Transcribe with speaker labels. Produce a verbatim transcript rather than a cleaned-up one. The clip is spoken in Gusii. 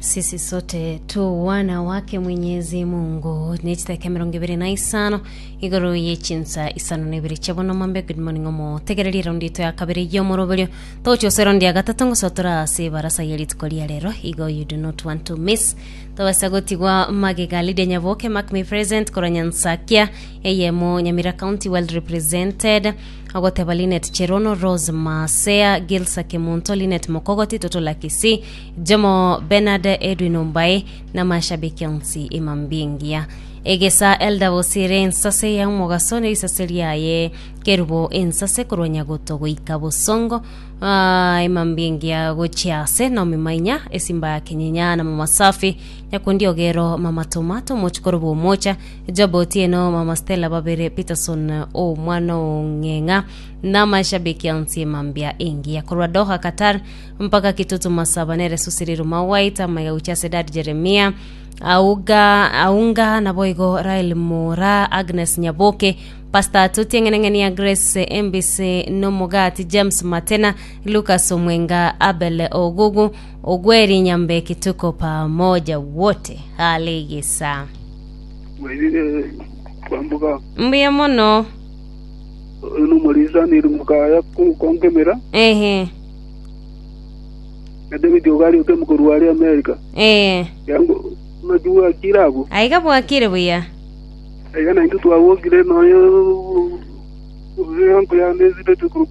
Speaker 1: Sisi sote tu wana wake Mwenyezi Mungu. Nechitaka emirongo ibere na isano igoro yechinsa isano na ibere chiabono mambe. Good morning omo tegereria raundi ito ya kabere yomoroberio tochi ase raundi ya gatato ngosotora ase barasa ya rituko ria rero. Igo you do not want to miss tobasa gotigwa magega. Lydia Nyaboke, mark me present korwa Nyansakia eyemo, Nyamira County, well represented. Agoteba Linet Cherono, Rose Masea, Gilsa Kemunto, Linet Mokogoti, Toto Lakisi, Jomo Bernard, Edwin Ombae na mashabiki onsi emambingia egesa. Elda Bosire ensase ya omogaso ne risase riaye kerubo ensase korwa Nyagoto goika Bosongo. Ah, emambingia gochiase Naomi Mainya, esimba ya Kenyenya na Mama Safi Nyakundi Ogero, Mama Tomato, mochikoro bwomocha Job Otieno, Mama Stella Babere Peterson o mwana ong'eng'a na mashabiki onsi emambia engiya korwa Doha Qatar mpaka Kitutu Masaba nere Susiriru Mawaita maiga uchase Dad Jeremia auga aunga naboigo Rael Mora, Agnes Nyaboke, Pastor Tuti Eng'eneng'eni ya Grace M B C Nomogati, James Matena, Lucas Omwenga, Abel Ogugu Ogweri Nyambeki, tuko pamoja wote haligisa.
Speaker 2: Wairire kwambuka.
Speaker 1: Mbuya mono.
Speaker 2: Numulisa niri mukaya konkemera.
Speaker 1: Ehe.
Speaker 2: Na David Ogali oke mukuru wali America.
Speaker 1: Eh.
Speaker 2: Yango najua kirabo.
Speaker 1: Aiga bwakire buya.
Speaker 2: Aiga na intu twawokire noyo yanko ya nezile tukuru.